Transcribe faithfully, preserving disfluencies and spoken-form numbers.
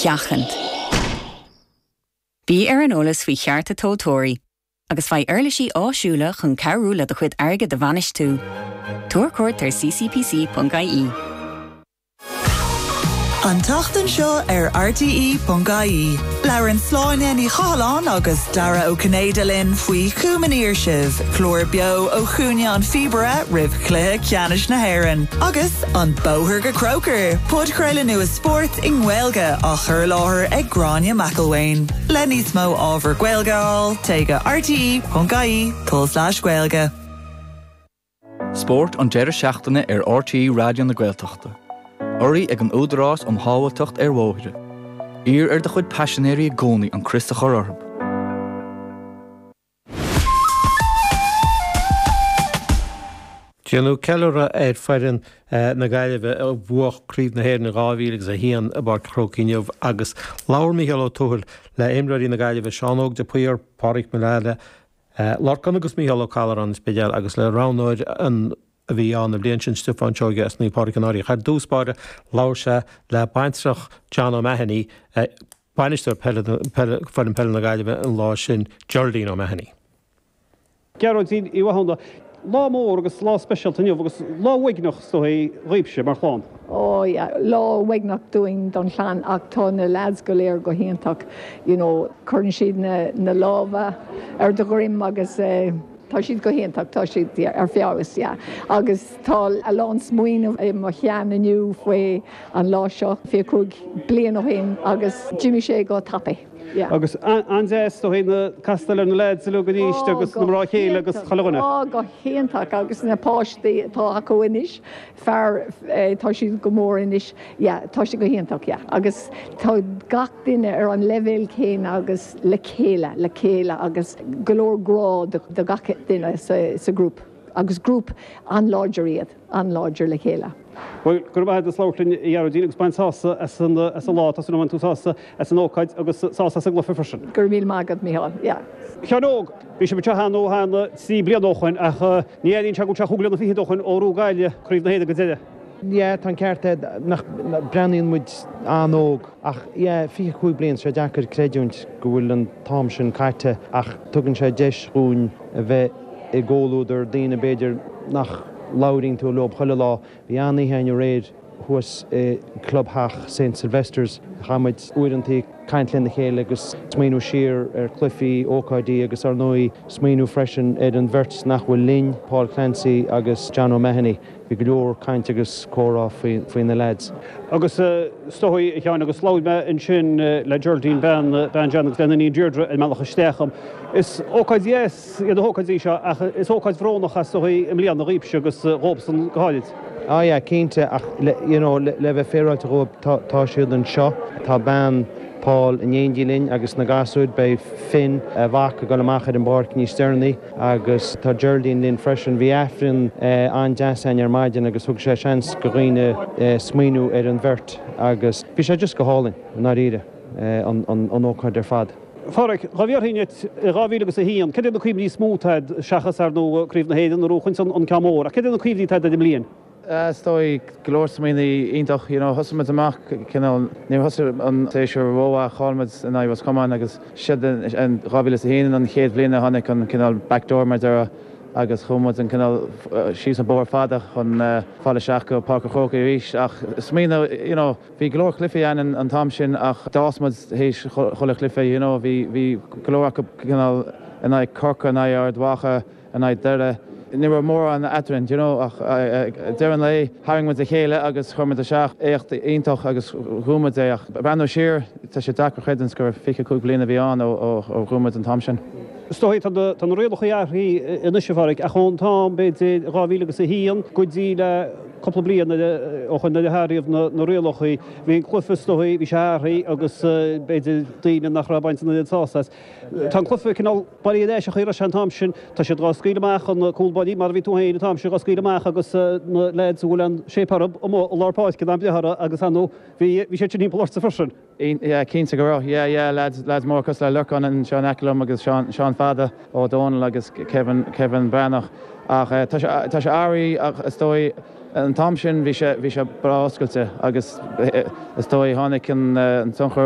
sheachaint. Bí ar an eolas faoi chearta tomhaltóirí, agus faigh uirlisí áisiúla chun cabhrú le do chuid airgid a bhainistiú. Tabhair cuairt ar ccpc.ie. An tseachtain seo ar RTE.ie. Labhrann Sláine Ní Chathalláin agus Dara Ó Cinnéide linn faoi Chumann Sibh, clár beo ó Chúinne an Phíobaire roimh chluiche ceannais na hÉireann. Agus an Bóthar go Croker, podchraoladh nua spóirt i nGaeilge á chur i láthair ag Gráinne McElwain. Le níos mó ábhar Gaeilge a fháil téigh go RTE.ie tulslais Gaeilge. Spórt an deireadh seachtaine ar RTÉ Raidió na Gaeltachta. Urraithe ag an Údarás um Shábháilteacht ar Bhóithre. Iarr ar do chuid paisinéirí i gcónaí an crios a chur orthu. Déanadh ceiliúradh ar foireann na Gaillimhe a bhuaigh Craobh na hÉireann dhá mhíle agus a haon i bPáirc an Chrócaigh inniu agus labhair Mícheál Ó Tuathail le imreoirí na Gaillimhe Seán Óg de Paor, Pádraic Mullally, Lorcán agus Mícheál Ó Callchóir an Spidéal agus le roghnóir an a bhí ann an bhliain sin Stiofán Seoige as Naomh Pádraig an Fhairche. Ar dtús báire labhair sé le baintreach John O'Mahony, bainisteoir peile foireann peile na Gaillimhe an lá sin, Geraldine O'Mahony. Gearóidín Uí Mhathúna, lá mór agus lá speisialta inniu agus lá uaigneach is dóigh dhaoibhse mar chlann. Ó yeah, lá uaigneach dúinn don chlann ach tá na lads go léir go hiontach, you know, cuireann siad na, na lámha ar do dhroim agus eh, Tá siad go hiontach, tá siad ar feabhas, yeah. Agus tá a lán smaoineamh i mo cheann inniu faoi an lá seo fiche cúig bliain ó shin agus d'imigh sé go tapaidh. Yeah. Agus an-deas is dóigh na castáil ar na lads uilig arís agus na mná céile agus chuile dhuine. Ó, go hiontach agus na páistí atá acu anois, fear, tá siad go mór anois, yeah, tá sé go hiontach, yeah. Agus tá gach duine ar an leibhéal céanna agus le chéile, le chéile agus go leor grá do gach duine sa, sa grúp. Agus grúp an-láidir iad, an-láidir le chéile. Bhuel, go raibh maith agat as labhairt linn, a Ghearóidín, agus bain sásamh as an, as an lá, tá súil agam go mbainfidh tú sásamh as an ócáid agus sásamh as an gcluiche freisin. Go raibh míle maith agat, Mícheál, yeah. A Sheáin Óg, bhí sibh anseo cheana ó cheana trí bliana ó shoin ach ní airíonn sé go bhfuil sé chúig bliana fichead ó shoin ó bhuaigh Gaillimh Craobh na hÉireann go deireadh. Yeah, tá an ceart agat, nach breathnaíonn muid an-óg ach yeah, fiche cúig bliain, sé deacair creidiúint go bhfuil an t-am sin caite ach tugann sé deis dhúinn a bheith i gcomhluadar daoine b'fhéidir nach labhraíonn tú leo chuile lá. Bhí an-oíche againn aréir thuas i gclubtheach St Sylvester's. Chaith muid uaireanta ag caint lena chéile agus smaoineamh siar ar chluichí, ócáidí agus ar ndóigh smaoineamh freisin ar an bheirt nach bhfuil linn, Paul Clancy agus John O'Mahony. Bhí go leor caint agus comhrá faoi faoi na leaids. Agus is dóigh, a Sheáin, agus labhair mé ansin le Geraldine, bean bean John agus lena iníon Deirdre ar an mbealach isteach dom. Is ócáid dheas iad na hócáidí seo ach is ócáid bhrónach is dóigh i mbliana dhaoibhse agus dhóibhsean go háirid. Ah yeah, cinnte, ach le you know le bheith féaráilte dhóibh tá tá siad anseo. Tá bean Paul in éindí linn agus na gasúir, beidh Finn, a mhac, ag dul amach ar an bpáirc níos deireanaí agus tá Geraldine linn freisin. Bhí Aifreann an-deas againn ar maidin agus thug sé seans go dhaoine smaoineamh ar an bheirt agus bhí sé just go hálainn, i ndáiríre, an an ócáid ar fad. A Pháraic, dhá bhfiafraínn díot i dhá mhíle agus a haon, cad iad na cuimhní is mó atá agat seachas, ar ndóigh, Craobh na hÉireann a bhuachaint an ceann mór, ach cad iad na cuimhní atá agat ar an mbliain? Is dóigh go leor smaoiní iontach, you know, thosaigh muid amach cineál, níor thosaigh an séasúr rómhaith, chaill muid in aghaidh Ros Comáin agus siad in dhá mhíle is a haon an chéad bhliain a tháinig an cineál backdoor mar a déarfá agus chuaigh muid an cineál síos an bóthar fada chun fáil isteach go Páirc an Chrócaigh arís ach smaoineamh, you know, bhí go leor cluichí ann an t-am sin ach d'fhás muid théis chuile chluiche, you know, bhí bhí go leor acu cineál in aghaidh Corcaigh, in aghaidh Ard Mhacha, in aghaidh Doire. Ní raibh mórán eadrainn, do you know, ach ag deireadh an lae tharraing muid a chéile agus chuir muid isteach éacht iontach agus bhuaigh muid é ach breathnú siar tá sé deacair creidiúint gur fiche cúig bliana a bhí ann ó bhuaigh muid an t-am sin. Is dóigh tá na rialacha athraithe anois a Pháraic ach ón t-am b'fhéidir dhá mhíle agus a haon go dtí le cúpla bliain ó shoin nuair a hathraíodh na rialacha bhí an cluiche is dóigh bhí sé athraithe agus b'fhéidir daoine nach raibh ag baint an oiread sásamh as. Tá an cluiche cineál bailithe ar ais an chaoi a raibh sé an t-am sin. Tá siad dhá scaoileadh amach, an cúl báirí, mar a bhí tú féin an t-am sin, dhá scaoileadh amach agus na leaids a bhfuil an shape orthu amuigh i lár páirce in am breith orthu agus ar ndóigh bhí bhí siad sin thimpeall ortsa freisin. Yeah, cinnte go raibh. Yeah, yeah, lads, lads móra cosúil le Lorcán anseo in aice liom agus Seán, Seán Fada Ó Dónaill agus Kevin, Kevin Breathnach. Ach tá sé, tá sé athraithe ach is dóigh an t-am sin bhí sé, bhí sé breá oscailte agus is dóigh tháinig an tionchar